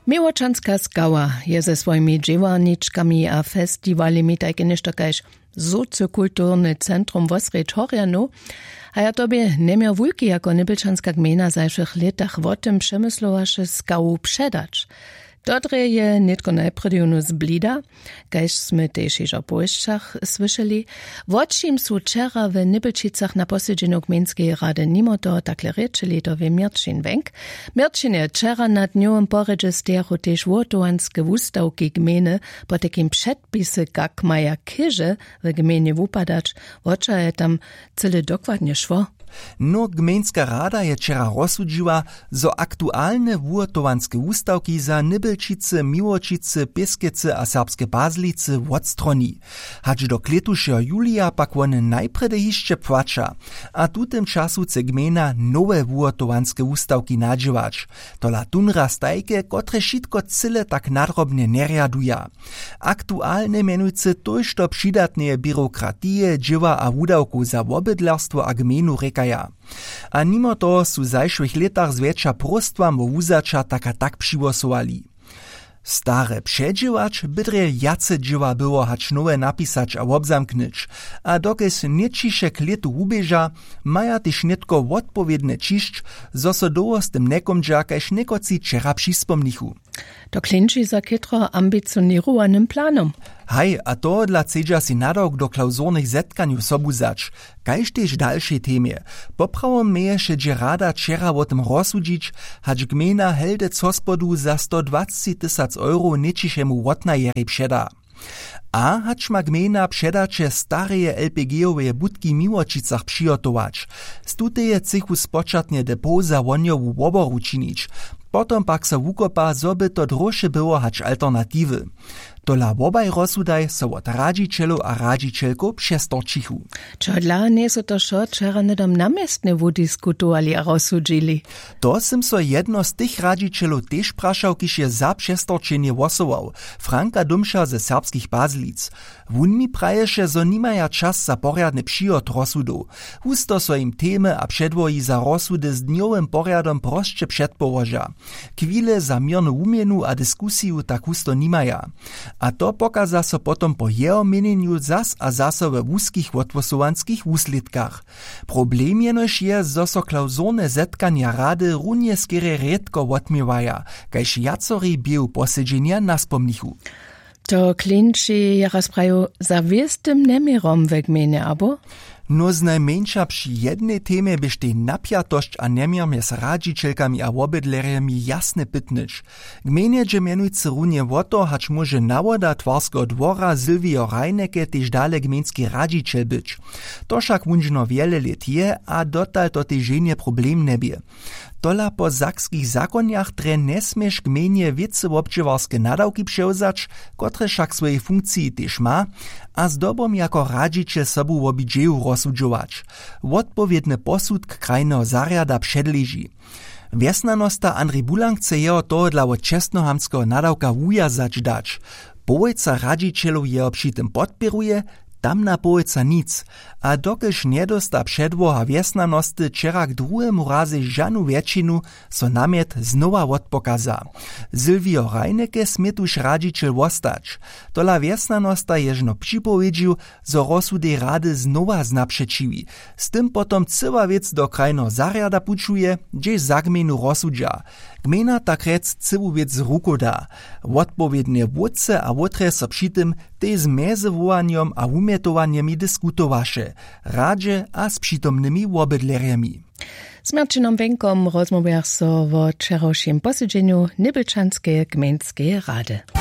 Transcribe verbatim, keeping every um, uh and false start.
Měłočanska skała je ze swojimi dźěłarničkami a festiwalemi tajke něšto kaž socykulturny centrum wosrjedź horjanow. A ja to bě njeměr wulki jako nybelčanska gmejna w zašłych lětach wo tym přemyslowaše skawu předać. To drje je nětko najprjedy jónu zblida, kaž smy tež hižo w powěsćach słyšeli. Wo čim su wčera w nybelčicach na posedźenju gmejnskeje rady nimo toho takle rěčeli, to wě měrćin wenk. Měrćin je wčera na dnjowym porjedźe stejachu tež wuhotowanske wustawki gmejny, potajkim předpisy kak maja chěže w gmejnje wupadać. Wo čo je tam cyle dokładnje šło? No, gmejnska rada je wčera rozsudźiła, zo aktualne wuhotowanske wustawki za nybelčicy, miłočicy, pěskecy a serbske pazlicy wotstroni. Hač do klětušeho julija pak wone najprjedy hišće płaća. A w tutym času chce gmejna nowe wuhotowanske wustawki nadźěłać. Tola tón raz tajke, kotrež wšitko cyle tak nadrobnje njerjaduja. Aktualne mjenujcy tójšto přidatneje běrokratije, dźěła a wudawkow za wobydlerstwo a gmejnu rěkaja. A nimo toho su w zašłych lětach zwjetša próstwam wo wuzaća tak a tak přihłosowali. Stare předźěłać by drje wjace dźěła było hač nowe napisać a wobzamknyć. A dokelž nětčiše k lětu wuběža, maja tež nětko wotpowědnje ćišć, zo so dołho z tym njekómdźa kaž někotři wčera přispomnichu. To klinči za chětro ambicioněrowanym planom. Haj, a tohodla chcedźa sej nadawk do klawzurnych zetkanjow sobu wzać, kaž tež w dalšej temje. Poprawom měješe dźě rada wčera wo tym rozsudźić, hač gmejna heldec hospodu za sto dwacci tysac euro nětčišemu wotnajerjej předa. A hač ma gmejna předaće stareje lpg-oweje budki w miłočicach přihotować, z tuteje chcychu spočatnje depot za wohnjowu woboru činić, potom pak so wukopa, zo by to dróše było hač alternatiwy. Tola wobaj rozsudaj so wot radźićelow a radźićelkow přestorčichu. Čehodla njejsu to wšo wčera hnydom na městnje wudiskutowali a rozsudźili? To sym so jedno z tych radźićelow tež prašał, kiž je za přestorčenje hłosował, Franka Dómša ze Serbskich Pazlic. Wón mi praješe, zo nimaja čas za porjadny přihot rozsudow. Husto so jim temy a předłohi za rozsudy z dnjowym porjadom prosće předpołoža. Chwile za měrnu wuměnu a diskusiju tak husto nimaja. A to pokaza so potom po jeho měnjenju zas a zaso we wuskich wothłosowanskich wuslědkach. Problem jenož je, zo so klawzurne zetkanja rady runje skerje rědko wotměwaja, kaž wjacori běhu posedźenja naspomnichu. To klinči je raz prajił za wěstym njeměrom we gmejnje, abo? Nó znajmjeńša při jednej temje běštej napjatosć a njeměr mjez radźićelkami a wobydlerjemi jasnje pytnyć. Gmejnje dźe mjenujcy runje wo to, hač móže nawoda twarskeho dwora Sylwio Reinecke tež dale gmejnski radźićel być. To wšak wón žno wjele lět je a dotal to tež ženje problem njebě. Tola po sakskich zakonjach drje njesměš gmejnje wěcy wobdźěłarske nadawki přewzać, kotrež wšak w swojej funkciji tež ma, a zdobom jako radźićel sobu wobidźeju rozsudźować. Wotpowědny posudk krajneho zarjada předleži. Wjesnjanosta Andrej Bulang chce jeho tohodla wot čestnohamtskeho nadawka wujazać dać. Połojca radźićelow jeho při tym podpěruje, tamna połojca nic. A dokelž njedósta předłoha wjesnjanosty wčera k druhemu razej žanu wjetšinu, so namjet znowa wotpokaza. Sylwio Reinecke smě tuž radźićel wostać. Tola wjesnjanosta je žno připowědźił, zo rozsudej rady znowa znapřećiwi. Z tym potom cyła wěc do krajneho zarjada pućuje, hdźež za gmejnu rozsudźa. Gmejna tak rjec cyłu wěc z rukow da. Wotpowědnje wótře a wótrje so při tym tež z mjezywołanjom a wumjetowanjemi diskutowaše, radźe a z přitomnymi wobydlerjemi. Z Marćinom Wenkom rozmołwjach so wo wčerawšim posedźenju Nybelčanskeje gmejnskeje rady.